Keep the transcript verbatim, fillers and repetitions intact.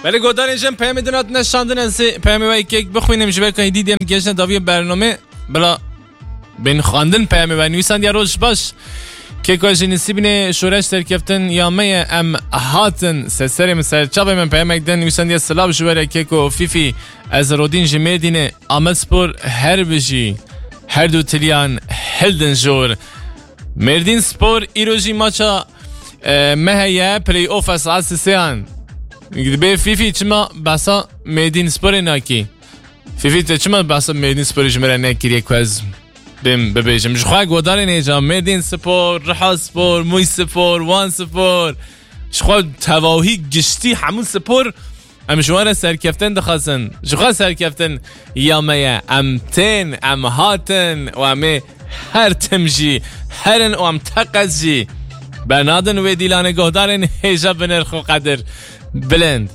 Belê, godarên jin peyamê din hatine şandin, ez ê peyamê we kek bixwînim, ji ber ku hêdî diyem gehiştine daviya bername, bila bên xwendin peyamê we. Nivîsandiye: "Roj baş. Keko, ji Nisîbînê şoreş serkeftin ya me ye, em hatin." Seserê min, serçavê min peyamek din, nivîsandiye: "Silav ji we re keko Fîfî, ez Rodîn ji Mêrdînê, Amedspor her bijî, her du tiliyan hildin jor." Mêrdîn Spor îro jî maça, e, me heye, play-offa saet sêyan. Dibê Fîfî çima behsa Mêrdîn Sporê nakî? Fîfî, te çima behsa Mêrdîn Sporê ji min re nekiriye ku ez bêm bibêjim? Ji xwe godarên hêja Mêrdîn Spor, Riha Spor, Mûş Spor, Wan Spor, ji xwe tevahî giştî hemû spor, em ji wan re serkeftin dixwazin. Ji xwe serkeftin ya me ye. Em tên, em hatin û em ê her tim jî herin û em teqez jî bernadin wê dîlanê godarên hêja binirx û qedir bilind.